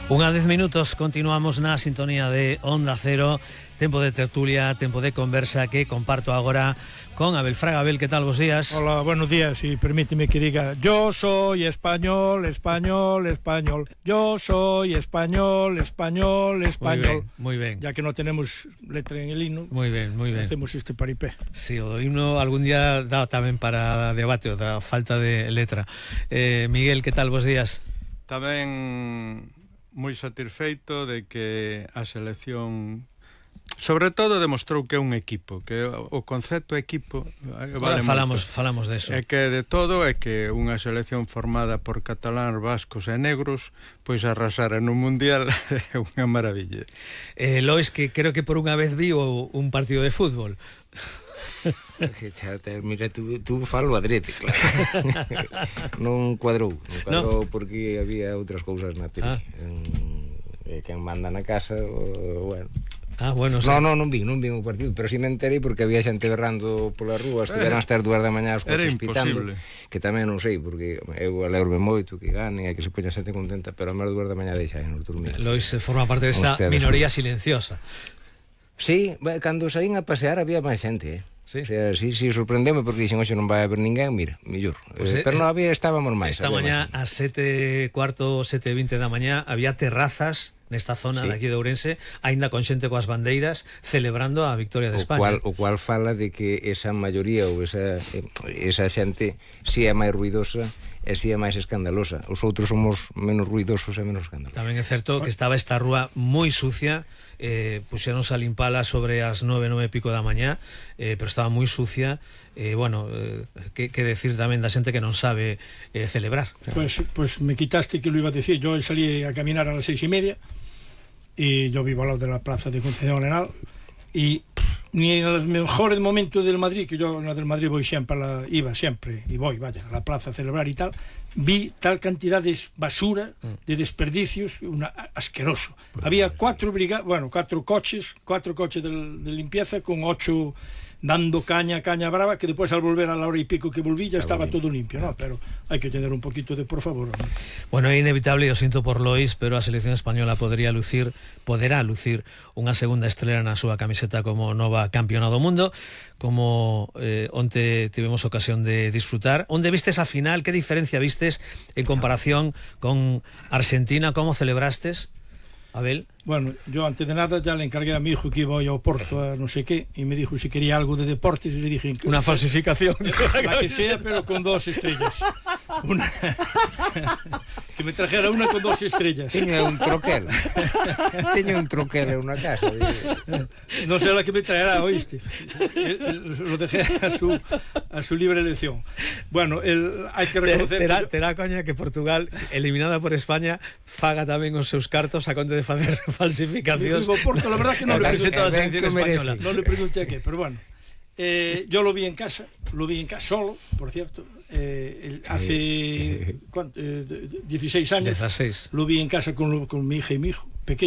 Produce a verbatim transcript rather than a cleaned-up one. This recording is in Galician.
Unha dez minutos, continuamos na sintonía de Onda Cero. Tempo de tertulia, tempo de conversa que comparto agora con Abel Fraga. Abel, ¿qué tal? Buenos días. Hola, buenos días, y permíteme que diga: yo soy español, español, español. Yo soy español, español, español. Muy bien, muy bien. Ya que no tenemos letra en el himno, muy bien, muy bien. Hacemos este paripé. Sí, o himno algún día da tamén para debate, o da falta de letra. Eh, Miguel, ¿qué tal? Buenos días. Tamén moi satisfeito de que a selección sobre todo demostrou que é un equipo, que o concepto equipo vale. Ahora falamos, moito. falamos de eso. É que de todo é que unha selección formada por catalán, vascos e negros pois arrasara no mundial é unha maravilla. Eh, Lois, que creo que por unha vez viu un partido de fútbol. Mira, tú, tú falo adrede, claro. Non cuadrou, non cuadrou no. Porque había outras cousas na tele. Ah. Eh, quen manda na casa, o, bueno. Ah, bueno, no, no, non vi, non vi o partido, pero si me enterei porque había xente berrando pola rúa, estiveran hasta as dúas da mañá os coches pitando, que tamén non sei, porque eu alegro-me moito que gane e que se poña xente contenta, pero a máis dúas da mañá deixa nos dormir. Lois forma parte desa minoría silenciosa. Sí, cando saín a pasear había máis xente, eh? Sí. O sea, si, si sorprendeume porque dixen, hoxe non vai haber ninguén, mira, millor. Pues eh, pero non había, estábamos máis. Esta mañá a sete cuarto, sete vinte da mañá había terrazas nesta zona sí. de aquí de Ourense, aínda con xente coas bandeiras celebrando a victoria de o España. Cual, o cual fala de que esa maioría ou esa, esa xente si é máis ruidosa e si é máis escandalosa. Os outros somos menos ruidosos e menos escandalosos. Tamén é certo que estaba esta rúa moi sucia, eh, puxéronse a limpala sobre as nove, nove e pico da mañá, eh, pero estaba moi sucia. Eh, bueno, eh, que, que decir tamén da xente que non sabe eh, celebrar. Pues, pues me quitaste que lo iba a decir. Yo salí a caminar a las seis y media y yo vivo al lado de la plaza de Concepción Arenal y ni en los mejores momentos del Madrid, que yo en la del Madrid voy siempre, la, iba siempre y voy, vaya, a la plaza a celebrar y tal, vi tal cantidad de basura, de desperdicios, una, asqueroso. Pues había cuatro brigadas, bueno, cuatro coches, cuatro coches de, de limpieza con ocho dando caña, caña brava, que después al volver a la hora y pico que volví ya estaba todo limpio, ¿no? Pero hay que tener un poquito de por favor, ¿no? Bueno, é inevitable, eu sinto por Lois, pero a selección española podría lucir, poderá lucir unha segunda estrela na súa camiseta como nova campeona do mundo, como eh, onte tivemos ocasión de disfrutar. Onde vistes a final? Que diferencia vistes en comparación con Argentina? Como celebrastes, Abel? Bueno, yo antes de nada ya le encargué a mi hijo que iba a Oporto a no sé qué y me dijo si quería algo de deportes y le dije que, una falsificación la que sea, pero con dos estrellas. Una que me trajera una con dos estrellas. Tiña un troquel. Tiña un troquel en una casa. No sé la que me traerá, oíste. Lo dejé a su a su libre elección. Bueno, el, hay que reconocer terá, terá coña que Portugal, eliminada por España, faga tamén os seus cartos a conde de facer falsificacións. Porto, la verdad que no le pregunté a la selección española. No le pregunté a qué, pero bueno. Eh, yo lo vi en casa, lo vi en casa solo, por cierto. Eh, el, hace ¿cuánto? Eh, dieciséis años. dieciséis. Lo vi en casa con, con mi hija y mi hijo, pequeño.